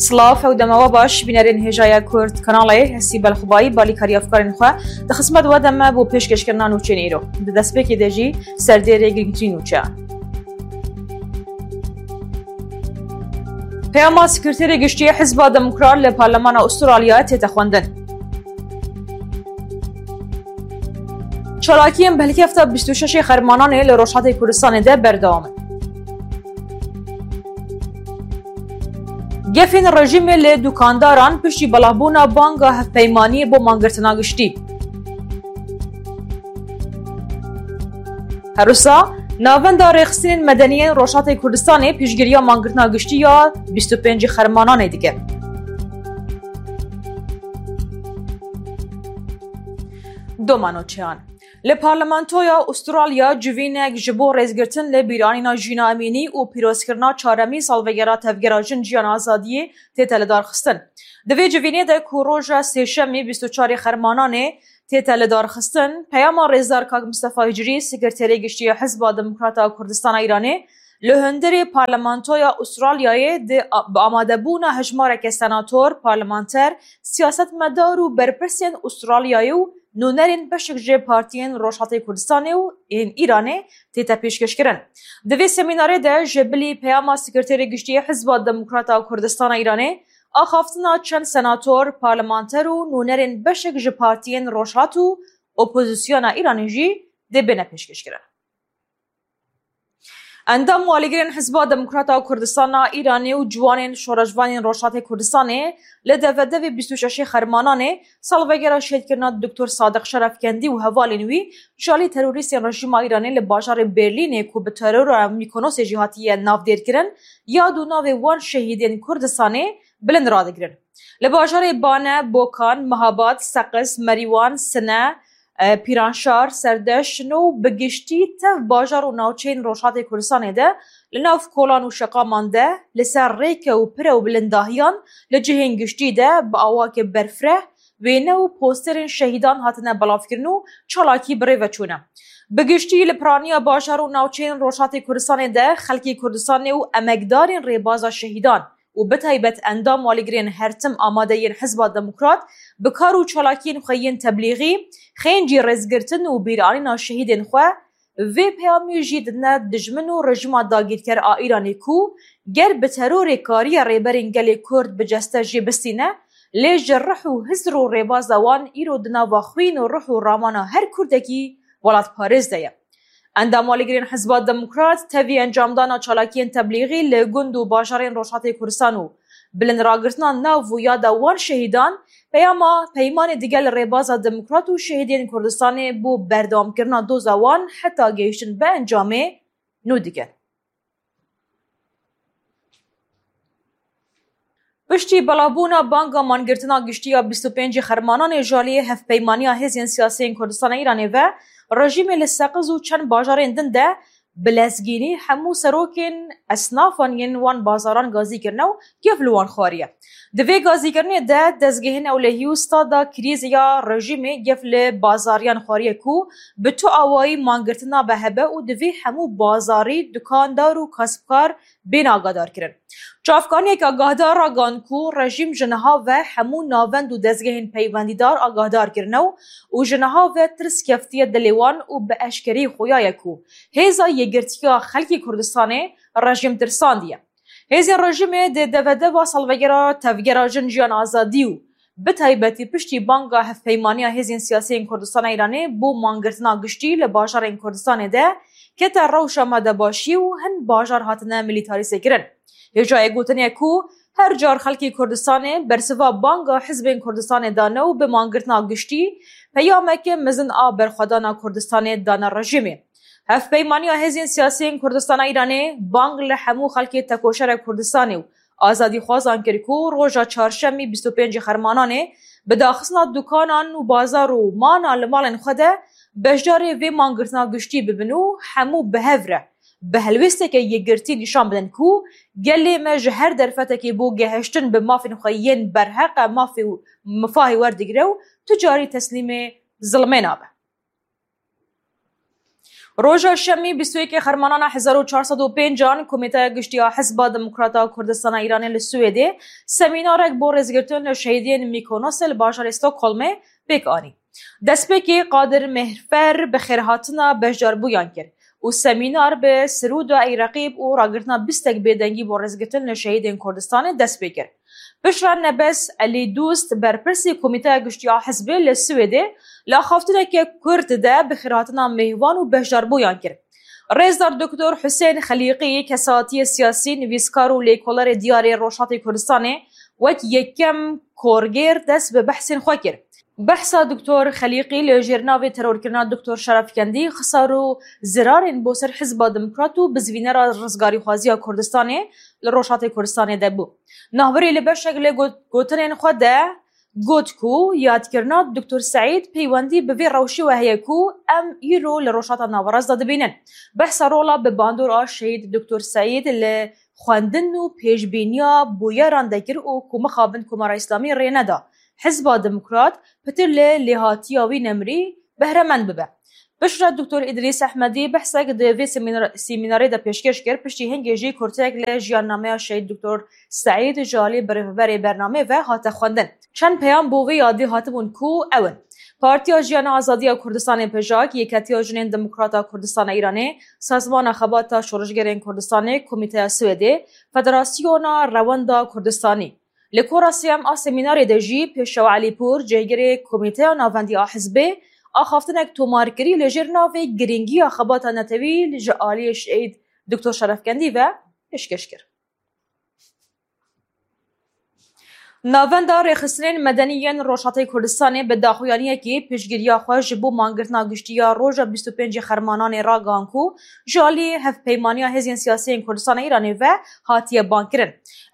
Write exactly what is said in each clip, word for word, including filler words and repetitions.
Silav, ew dema we baş, bînerên hêja ye Kurd Kanalê, ez Sîbel Xubayî, balîkarî efkarên xwe di xizmet we de me bo pêşkêşkirina nûçeyên îro. Di destpêkê de jî serdêrê girîngtirîn nûçeyan. Peyama Sekreterê Giştî Hizba Demokrat li Parlemana Usturalyayê tête xwendin. Çalakiyên bi hilkefta bîst û şeşê Xermananê li Rojhatê Kurdistanê de berdewam in. Gefên rejîmê li dukandaran piştî belavbûna banga hevpeymaniyê bo mangirtina giştî. Her wisa, Navenda Rêxistinên Medenî yên Rojhatê Kurdistanê piştgiriya mangirtina giştî ya bîst û pêncî Xermananê dike. Doma nûçeyan. Li Parlamentoya Ustûralya civînek ji bo rêzgirtin li bîranîna Jîna Emînî û pîrozkirina çaremîn salvegera Tevgera Jin Jiyan Azadiyê tête lidarxistin. Di vê civînê de ku roja Sêşemê bîst û çarê Xermananê tête lidarxistin, peyama Rêzdar Kak Mistefa Hicrî, Sekreterê Giştî ya Hizba Demokrata Kurdistana Îranê, li hundirê Parlamentoya Ustûralyayê di, bi amadebûna hejmareke senator, parlamenter, siyasetmedar û berpirsên Ustûralyayê û nûnerên beşek ji partiyên Rojhatê Kurdistanê û ên Îranê tête pêşkêşkirin. Di vê semînarê de ji bilî peyama Sekreterê Giştî Hizba Demokrata Kurdistana Îranê, axaftina çend senator, parlamenter û nûnerên beşek ji partiyên Rojhat û opozisyona Îranê jî dê bêne pêşkêşkirin. Endam û alîgirên Hizba Demokrata Kurdistana Îranê û ciwanên şoreşvanên Rojhatê Kurdistanê li devedevê bîst û şeşê Xermananê salvegera şehîdkirina Doktor Sadiq Şerefkendî û hevalên wî ji alî terorîstên rejîma Îranê li bajarê Berlînê ku bi terora Mîkonosê jî hatiye navdêrkirin, yad û navê wan şehîdên Kurdistanê bilind radigirin. Li bajarê Bane, Bokan, Mehabad, Seqiz, Merîwan, Sine, e, Pîranşar, Serdeş, Şino û bi giştî tev bajar û navçeyên Rojhatê Kurdistanê de li nav kolan û şeqaman de li ser rêke û pire û bilindahiyan li cihên giştî de bi awakê berfireh wêne û posterên şehîdan hatine belavkirin û çalakî bi rê ve çûne. Bi giştî li piraniya bajar û navçeyên Rojhatê Kurdistanê de xelkê Kurdistanê û emekdarên rêbaza şehîdan û bi taybet endam û alîgirên her tim amade yên Hizba Demokrat bi kar û çalakiyên xwe yên teblîxî, xêncî rêzgirtin û bîranîna şehîdên xwe, vê peyamê jî didine dijmin û rejîma dagîrker a Îranê ku ger bi terorê kariye rêberên gelê Kurd bi ceste jê bistîne, lê ji rih û hizr û rêbaza wan îro di nava xwîn û rih û ramana her Kurdekî welatparêz de ye. Endam û alîgirên Hizba Demokrat tevî encamdana çalakiyên teblîxî li gund û bajarên Rojhatê Kurdistan û bilindragirtina nav û yada wan şehîdan, peyama peymanê digel rêbaza demokrat û şehîdên Kurdistanê bo berdewamkirina doza wan heta gehiştin bi encamê nû dikin. Piştî belavbûna banga mangirtina giştî ya bîst û pêncî Xermananê ji aliyê Hevpeymaniya Hêzên Siyasiyên Kurdistana Îranê ve, rejîmê li Seqiz û çend bajarên din de bi lezgînî hemû serokên esnafan yên wan bazaran gazî kirine û gef li wan xwariye. Di vê gazîkirinê de dezgehên ewlehî û stada krîz ya rejîmê gef li bazariyan xwariye ku bi tu awayî mangirtina be hebe û divê hemû bazarî, dukandar û kasbkar bên agadarkirin. Çavkaniyek agahdar ragihand ku rejîm ji niha ve hemû navend û dezgehên peywendîdar agahdar kirine û, û ji niha ve tirs keftiye dilê wan û bi eşkerî xuya ye ku hêza yekgirtiya xelkê Kurdistanê rejîm tirsandiye. Hêzên rejîmê di devedeva salvegera Tevgera Jin Jiyan Azadî û bi taybetî piştî banga Hevpeymaniya Hêzên Siyasiyên Kurdistana Îranê bo mangirtina giştî li bajarên Kurdistanê de kete rewşa me de başî û hin bajar hatine milîtarîzekirin. Hêjayê gotinê ye ku her car xelkê Kurdistanê bersiva banga hizbên Kurdistanê dane û bi mangirtina giştî peyameke mezin a berxwedana Kurdistanê dane rejîmê. Hevpeymaniya Hêzên Siyasiyên Kurdistana Îranê bang li hemû xelkê tekoşera Kurdistanê û azadîxwazan kir ku roja çarşemî bîst û pêncî Xermananê bi daxistina dukanan û bazar û mana li malên xwe de beşdarê vê mangirtina giştî bibin û hemû bi hev re bi helwêsteke yekgirtî nîşan bidin ku gelê me ji her derfetekê bo gehiştin bi mafên xwe yên berheq e mafê û mifahê werdigire û tu carî teslîmê zilmê nabe. Roja Şemî bîst û yekê Xermanana hezar û çar sed û pênc an Komîteya Giştî ya Hizba Demokrata Kurdistana Îranê li Swêdê semînarek bo rêzgirtin li şehîdên Mîkonosê li bajarê Stockholmê pêk anî. Destpêkê Qadir Mehfer bi xêrhatina beşdarbûyan kir û semînar bi sirûda Ey Reqîb û ragirtina bîstek bêdengî bo rêzgirtin li şehîdên Kurdistanê dest pê kir. Piştre Nebes Elî Dûst, berpirsî Komîteya Giştî ya Hizbê li Swêdê, li axaftineke kurt de bi xêrhatina mêhvan û beşdarbûyan kir. Rêzdar Doktor Husên Xelîqî, kesatiyê siyasî, nivîskar û lêkolerê diyarê Rojhatê Kurdistanê, wek yekem korgêr dest bi behsên xwe kir. Behsa Doktor Xelîqî li jêr navê terorkirina Doktor Şerefkendî, xisar û zirarên bo ser Hizba Demokrat û bizvînera rizgarîxwaziya Kurdistanê li Rojhatê Kurdistanê de bû. Navbirî li beşek li got-, gotinên xwe de got ku yadkirina Doktor Seîd peywendî bi vê rewşê ve heye ku em îro li Rojhata Naverast de dibînin. Behsa rola bi bandora Şehîd Doktor Seîd li xwendin û pêşbîniya bûyeran de kir û ku mixabin Komara Îslamî rê neda Hizba Demokrat pitir li lêhatiya wî nemrî behremend bibe. Piştre Doktor Îdrîs Ehmedî behsek di vê semînar-, semînarê de pêşkêş kir, piştî hingê jî kurteyek li jiyannameya Şehîd Doktor Seîd ji alî birêveberê bernameyê ve hate xwendin. Çend peyam bo vê yadî hatibûn ku ew in: Partiya Jiyana Azadiya Kurdistanê, PJAK, Yeketiya Jinên Demokrata Kurdistana Îranê, Sazmana Xebata Şoreşgerên Kurdistanê, Komîteya Swêdê, Federasyona Rewenda Kurdistanî. Li kora sêyem a semînarê de jî Pêşew Elîpûr, cihgirê Komîteya Navendî a Hizbê, axaftinek tomarkirî li jêr navê Girîngiya Xebata Netewî ji aliyê Şehîd Doktor Şerefkendî ve pêşkêş kir. Navenda Rêxistinên Medenî yên Rojhatê Kurdistanê bi daxuyaniyekî piştgiriya xwe ji bo mangirtina giştî ya roja bîst û pêncê Xermananê ragihan ku ji alî Hevpeymaniya Hêzên Siyasî yên Kurdistana Îranê ve hatiye bankirin.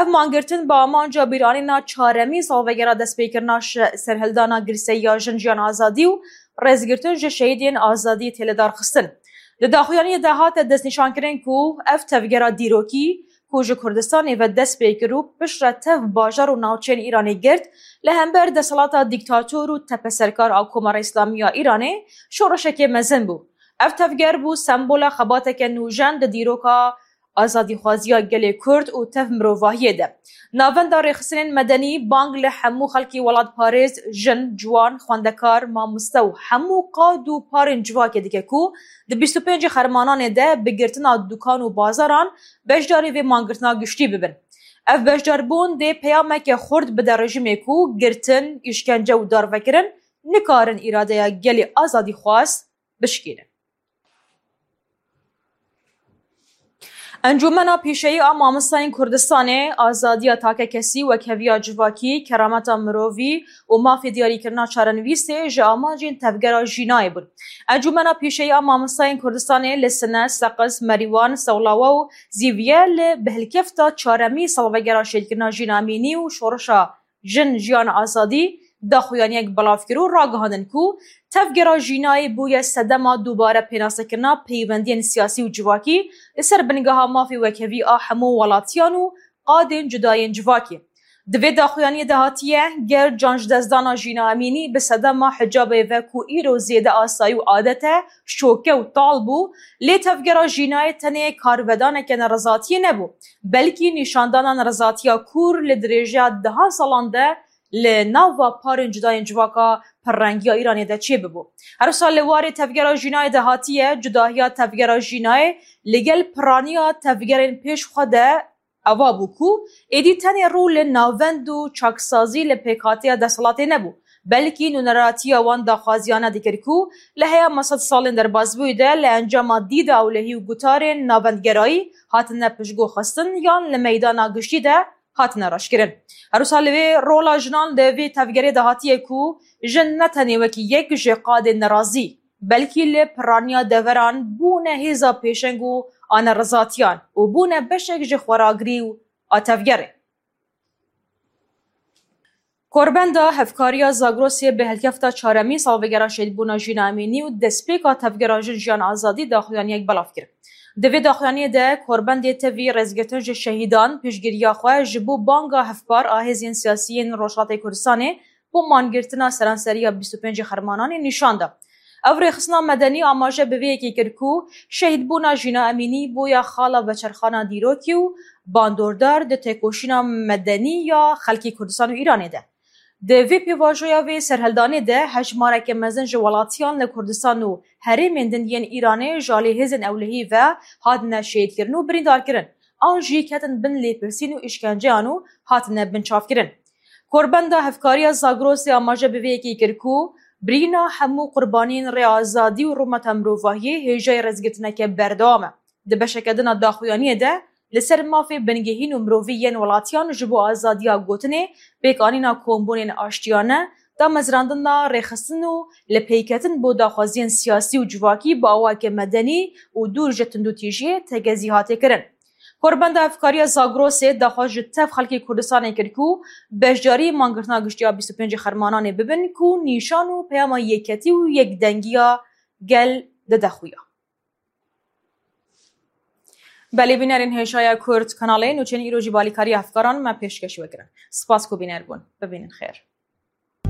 Ev mangirtin bi amanca bîranîna çaremîn salvegera destpêkirina şe-, serhildana girseyî ya Jin Jiyan Azadî û rêzgirtin ji şehîdên azadî tê lidarxistin. Di daxuyaniyê de hate destnîşankirin ku ev tevgera dîrokî ku ji Kurdistanê ve dest pê kir û piştre tev bajar û navçeyên Îranê girt, li hember desthilata dîktator û tepeserkar a Komara Îslamî ya Îranê şoreşekê mezin bû. Ev tevger bû sembola xebateke nûjen di dîroka azadîxwaziya gelê Kurd û tev mirovahiyê de. Navenda Rêxistinên Medenî bang li hemû xelkî welatparêz, jin, ciwan, xwendekar, mamoste û hemû qad û parên civakê dike ku di bîst û pêncê Xermananê de bi girtina dukan û bazaran beşdarî vê mangirtina giştî bibin. Ev beşdarbûn dê peyameke xurt bide rejîmê ku girtin, îşkence û darvekirin nikarin îradeya gelê azadîxwaz bişkînin. Encûmena Pîşeyî a Mamostayên Kurdistanê, Azadiya Takekesî, Wekheviya Civakî, Kerameta Mirovî û Mafê Diyarîkirina Çarenivîsê ji amancên Tevgera Jînayê bûn. Encûmena Pîşeyî a Mamostayên Kurdistanê li Sine, Seqiz, Merîwan, Sewlawa û Zîviye li bihilkefta çaremî salvegera şehîdkirina Jîna Emînî û şoreşa Jin, Jiyan, Azadî daxuyaniyek belav kir û ragihandin ku Tevgera Jînayê bûye sedema dubare pênasekirina peywendiyên siyasî û civakî li ser bingeha mafê wekhevî a hemû welatiyan û qadên cudayên civakê. Di vê daxuyaniyê de hatiye, ger can ji destdana Jîna Emînî bi sedema hicabê ve ku îro zêde asayî û adet e, şoke û tal bû, lê Tevgera Jînayê tenê karvedaneke nerizatiyê nebû, belkî nîşandana nerizatiya kûr li dirêjeya dehan salan de li nava parên cudayên civaka pirrengiya Îranê de çêbibû. Her wisa li warê Tevgera Jînayê de hatiye, cudahiya Tevgera Jînayê li gel piraniya tevgerên pêş xwe de ava bû ku êdî tenê rû li navend û çaksazî li pêkhateya desthilatê nebû, belkî nûneratiya wan daxwaziyane dikir ku li heya me sed salên derbasbûyî de li encama dîda ewlehî û gutarên navendgerayî hatine piştguhxistin yan li meydana giştî de hatine raşkirin. Her wisa li vê rola jinan li vê tevgerê de hatiye ku jin ne tenê wekî yek ji qadên nerazî, belkî li piraniya deveran bûne hêza pêşeng û a nerizatiyan û bûne beşek ji xweragirî û a tevgerê. Korbenda Hevkariya Zagrosê bi helkefta çaremî salvegera şehîdbûna Jîna Emînî û destpêka Tevgera Jin, Jiyan, Azadî daxuyaniyek belav kir. Di vê daxuyaniyê de korbendê tevî rêzgirtin ji şehîdan, piştgiriya xwe ji bo banga hevpar a hêzên siyasî yên Rojhatê Kurdistanê bo mangirtina seranseriya bîst û pêncê Xermananê nîşan da. Ev rêxistina medenî amaje bi vê yekê kir ku şehîdbûna Jîna Emînî bûye xala veçerxana dîrokî û bandordar di têkoşîna medenî ya xelkê Kurdistan û Îranê de. Di vê pêvajoya vê serhildanê de hejmareke mezin ji welatiyan li Kurdistan û herêmên din yên Îranê ji alî hêzên ewlehî ve hatine şehîdkirin û birîndarkirin, an jî ketin bin lêpirsîn û îşkenceyan û hatine binçavkirin. Korbenda Hevkariya Zagrosê amaje bi vê yekê kir ku birîna hemû qurbaniyên rê azadî û rûmeta mirovahiyê hêjayî rêzgirtineke berdewam e. Di beşeke din a daxuyaniyê de li ser mafê bingehîn û mirovî yên welatiyan ji bo azadiya gotinê, pêkanîna kombûnên aştiyane, damezrandina rêxistin û lipeyketin bo daxwaziyên siyasî û civakî bi awayeke medenî û dûr ji tundûtîjiyê tegezî hate kirin. Korbenda Hevkariya Zagrosê daxwaz ji tev xelkê Kurdistanê kir ku beşdarî mangirtina giştî ya bîst û pêncê Xermananê bibin ku nîşan û peyama yeketî û yekdengiya gel dide xuya. Belê bînerên hêşaya Kurd kanalê nûçeyên îro jî balîkariya hevkaran me pêşkêş we kirin. Spas ku bîner bûn. Bibînin xêr.